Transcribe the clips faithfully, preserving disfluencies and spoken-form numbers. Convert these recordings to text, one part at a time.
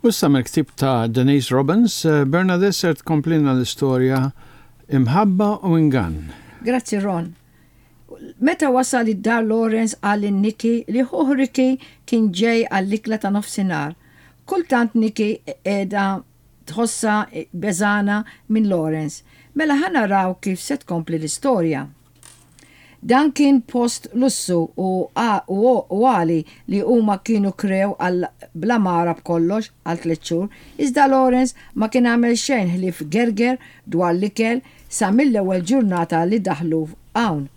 U issa mill-ktieb ta' Denise Robbins, eh, Bernadette ser tkomplina l-istorja Imħabba u Ingann. Grazzi, Ron. Meta wasal id-dar, Lawrence qal lil Nikki li ħuh Ricky kien ġej għall-ikla ta' nofsinhar. Kultant Nikki qiegħda tħossha beżgħana minn Lawrence. Mela ħa naraw kif se tkompli l-istorja. Dan kien post lussu u għali li huma kienu krew għal bl-għamara b'kollox għal tliet xhur, iżda Lawrence ma kien għamel xejn ħlief gerger dwar l-ikel sa mill-ewwel ġurnata li daħlu hawn.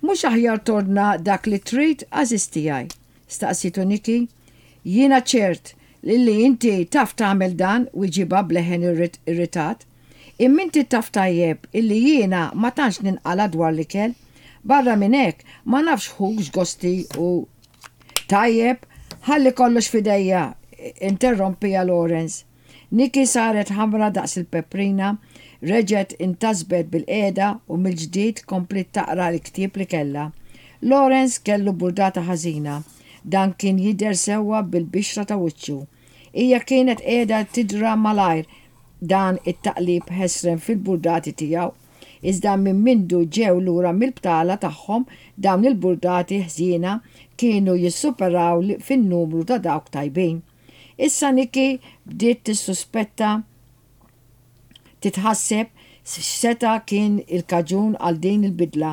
"Mhux aħjar tordna dak li trid, għażiż tiegħi?" staqsitu Nikki. "Jiena ċert li li inti taf tagħmel dan," wiġibha b'leħen irritat. "Imma inti taf tajjeb illi jiena ma tantx ninqala dwar l-ikel. Barra minn hekk ma nafx ħuk x'gosti u "Tajjeb, ħalli kollox f'idejja," interrompieha Lawrence. Nikki saret ħamra daqs il-peprina, reġgħet intasbet bilqiegħda u mill-ġdid kompliet taqra l-ktieb li kellha. Lawrence kellu burdata ħażina. Dan kien jidher sewwa bil-bixra ta' wiċċu. Hija kienet qiegħda tidra malajr dan it-taqlib ħesrem fil-burdati tiegħu. Iżda minn mindu ġew lura mill-btala tagħhom, dawn il-burdati ħżiena kienu jissuperaw fin-numru ta' dawk tajbin. Issa Nikki bdiet tissuspetta, titħasseb x'seta' kien il-kaġun għal din il-bidla.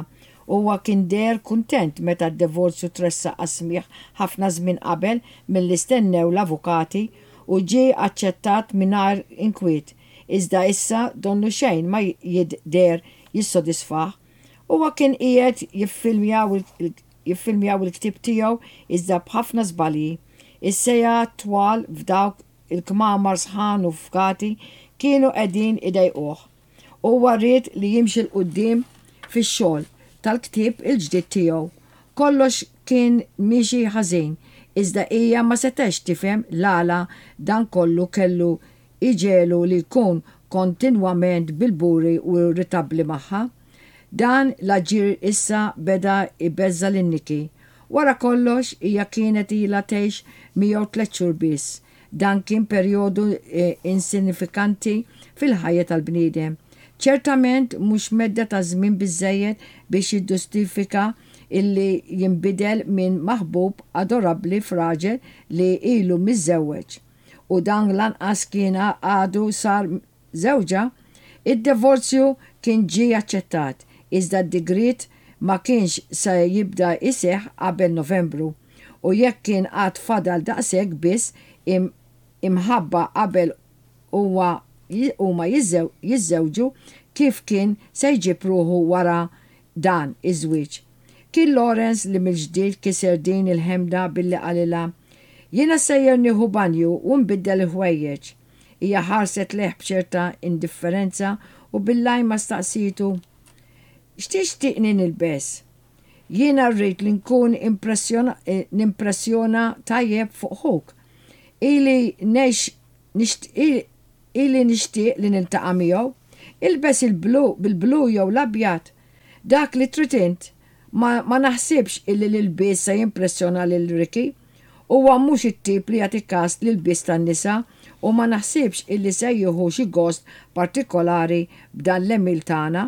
Huwa kien deher kuntent meta d-divorzju tressaq għas-smigħ ħafna żmien qabel milli stennew l-avukati u ġie aċċettat mingħajr inkwiet. Iżda issa donnu xejn ma jidher jissodisfah. Huwa kien qiegħed jiffilmjaw il-ktieb tiegħu, iżda b'ħafna żbalji. Is-sigħat twal f'dawk il-kmamar sħan u fgati kienu qegħdin idejquh. Huwa ried li jimxi 'l quddiem fix-xogħol tal-ktieb il-ġdid tiegħu. Kollox kien miexi ħażin, iżda hija ma setgħetx tifhem l-għala dan kollu kellu iġegħlu li jkun kontinwament bil-buri u irritabbli magħha. Dan l-aġir issa beda ibeżża' lil Nikki. Wara kollox, hija kienet ilha tgħix miegħu tliet xhur biss. Dan kien perjodu eh, insinifikanti fil-ħajja tal-bniedem. Ċertament mhux medda ta' żmien biżejjed biex jiġġustifika illi jinbidel minn maħbub adorabbli f'raġel li ilu miżżewweġ. U dan lanqas kien għadu sar żewġha. Id-divorzju kien ġie aċċettat, iżda d-digriet ma kienx se jibda iseħ qabel Novembru. U jekk kien għad fadal daqshekk biss imħabba qabel huwa huma jiżżewġu, kif kien se jġib ruħu wara dan iż-żwieġ? Kien Lawrence li mill-ġdid kiser din il-ħemda billi qalilha, "Jiena sejjer nieħu banju u nbiddel il-ħwejjeġ." Hija ħarset lejh b'ċerta indifferenza u bil-lajma staqsitu, "X'tixtieqni nilbes? Jiena rrid li nkun nimpressjona tajjeb fuq ħuk. Ili nex ili nixtieq li niltaqa' miegħu. Ilbes il-blu bil-blu jew l-abjad. Dak li trid int. Ma, ma naħsibx illi l-ilbies se jimpressjona lil Ricky. Huwa mhux it-tip li jagħti kas l-ilbies tan-nisa u ma naħsibx illi se jieħu xi gost partikolari b'dan l-għemil tagħna.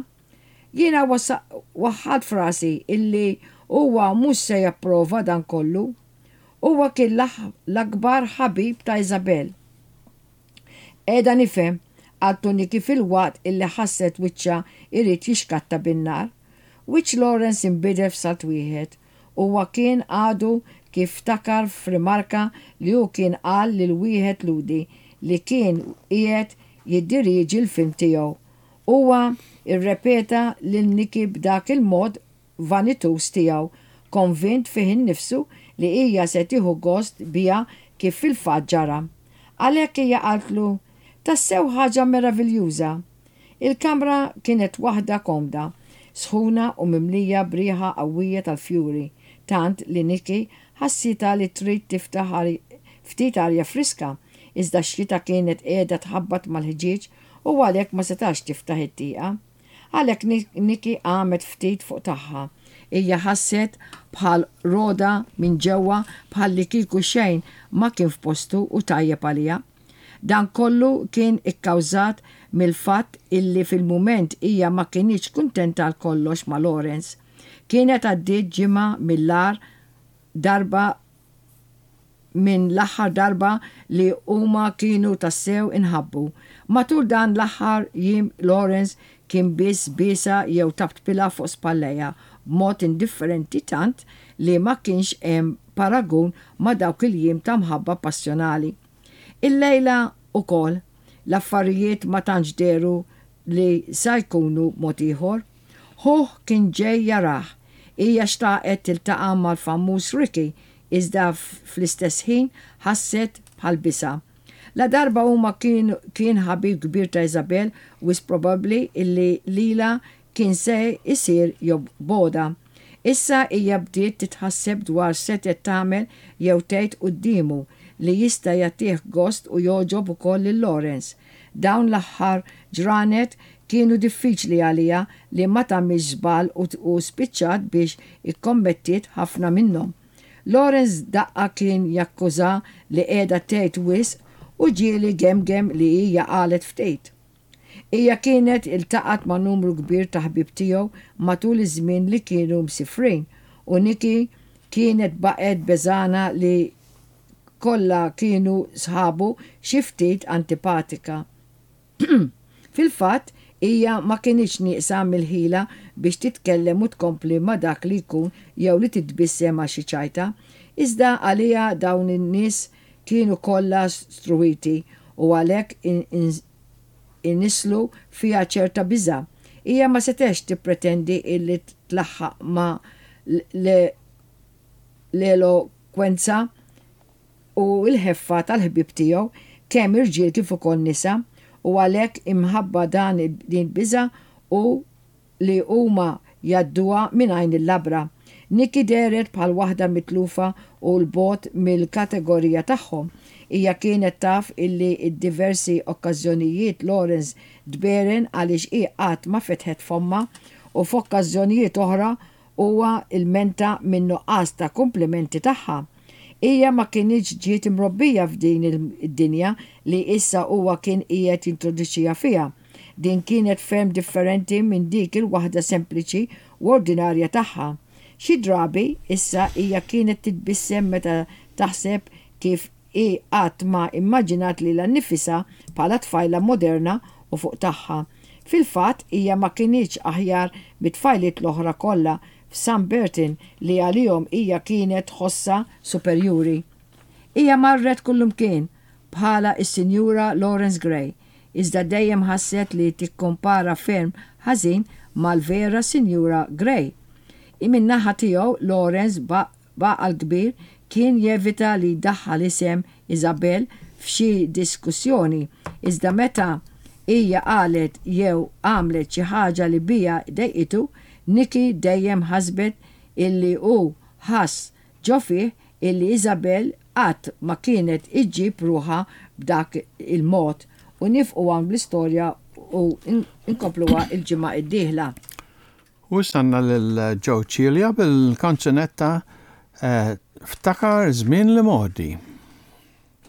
Jiena waħħalt f'rasi illi huwa mhux se japprova dan kollu. Huwa kien l-akbar ħabib ta' Isabel." "Qiegħda nifhem," qaltu Nikki filwaqt illi ħasset wiċċha irid jixkatta bin-nar. Wiċċ Lawrence inbidel f'salt wieħed. Huwa kien għadu kif ftakar f'rimarka li hu kien qal lil wieħed Lhudi li kien qiegħed jiddirieġi l-film tiegħu. Huwa irrepeta lil Nikki b'dak il-mod vanituż tiegħu, konvint fih innifsu li hija se tieħu gost biha, kif fil-fatt ġara. Għalhekk hija qaltlu, "Tassew ħaġa meraviljuża." Il-kamra kienet waħda komda, sħuna u mimlija b'riħa qawwija tal-fjuri, tant li Nikki ħassitha li trid tiftaħ ftit arja friska, iżda x-xita kienet qiegħda tħabbat mal-ħġieġ u għalhekk ma setax tiftaħ it-tieqa. Għalhekk Nikki qamet ftit fuq tagħha. Hija ħasset bħal rogħda minn ġewwa, bħal li kieku xejn ma kien f'postu u tajjeb għaliha. Dan kollu kien ikkawżat mill-fatt illi fil-mument hija ma kinitx kuntenta għal kollox ma' Lawrence. Kienet għaddiet ġimgħa mill-agħar darba minn l-aħħar darba li huma kienu tassew inħabbu. Matul dan l-aħħar jiem Lawrence kien biss biesha jew taptpilha fuq spallejha b'mod indifferenti tant li ma kienx hemm paragun ma' dawk il-jiem ta' mħabba passjonali. Illejla ukoll l-affarijiet ma tantx dehru li sa jkunu mod ieħor. Ħuh kien ġej jarah. Hija xtaqet tiltaqa' mal-famuż Ricky iżda fl-istess ħin ħasset bħal biża'. La darba huma kien, kien ħabib kbir ta' Isabel wisq probabbli illi lilha kien se isir jobgħodha. Issa hija bdiet titħasseb dwar setgħet tagħmel jew tgħid quddiemu li jista' jagħtih gost u jogħġob ukoll lil Lawrence. Dawn l-aħħar ġranet kienu diffiċli għaliha li ma tagħmilx żball u spiċċat biex ikkommettiet ħafna minnhom. Lawrence daqqa kien jakkuża li qiegħda tgħid wisq u ġieli gemgem li hija qalet ftit. Hija kienet iltaqat ma' numru kbir ta' ħbieb tiegħu matul iż-żmien li kienu msifrin u Nikki kienet baqgħet beżgħana li kollha kienu sħabu xi ftit antipatika. Fil-fatt, hija ma kinitx nieqsa mill-ħila biex titkellem u tkompli ma' dak li jkun jew li titbissem għal xi ċajta, iżda għaliha dawn in-nies kienu kollha struwiti u għalhekk inisslu fiha ċerta biża'. Hija ma setgħetx tippretendi illi tlaħħaq ma' l-elokwenza u l-ħeffa tal-ħbieb tiegħu kemm irġiel kif ukoll nisa u għalhekk imħabba dan din biża' u li huma jgħadduha minn għajn il-labra. Nikki dehret bħal waħda mitlufa u 'l bogħod mill-kategorija tagħhom. Hija kienet taf illi d-diversi okkażjonijiet Lawrence tberen għaliex hi qatt ma fetħet fommha u f'okkażjonijiet oħra huwa ilmenta minn nuqqas ta' komplimenti tagħha. Hija ma kinitx ġiet imrobbija f'din id-dinja li issa huwa kien qiegħed jintroduċiha fiha. Din kienet ferm differenti minn dik il-waħda sempliċi u ordinarja tagħha. Xi drabi issa hija kienet titbissem meta taħseb kif hi qatt ma immaġinat lilha nnifisha bħala tfajla moderna u fuq tagħha. Fil-fatt hija ma kinitx aħjar mit-tfajliet l-oħra kollha f'Sunburton li għalihom hija kienet tħossha superjuri. Hija marret kullumkien bħala is-Sinjura Lawrence Gray, iżda dejjem ħasset li tikkompara ferm ħażin mal-vera Sinjura Gray. Min-naħa tiegħu Lawrence b'għaqal kbir kien jevita li jdaħħal isem Isabel f'xi diskussjoni, iżda meta hija qalet jew għamlet xi ħaġa li biha dejqitu, Nikki dejjem ħasbet illi hu ħass ġo fih illi Isabel qatt ma kienet iġġib ruħha b'dak il-mod u nieqfu hawn bl-istorja u nkompluha il-ġimgħa id-dieħla. U stanna lil Joe Cilia bil-kanzunetta eh, Ftakar żmien l-imgħoddi.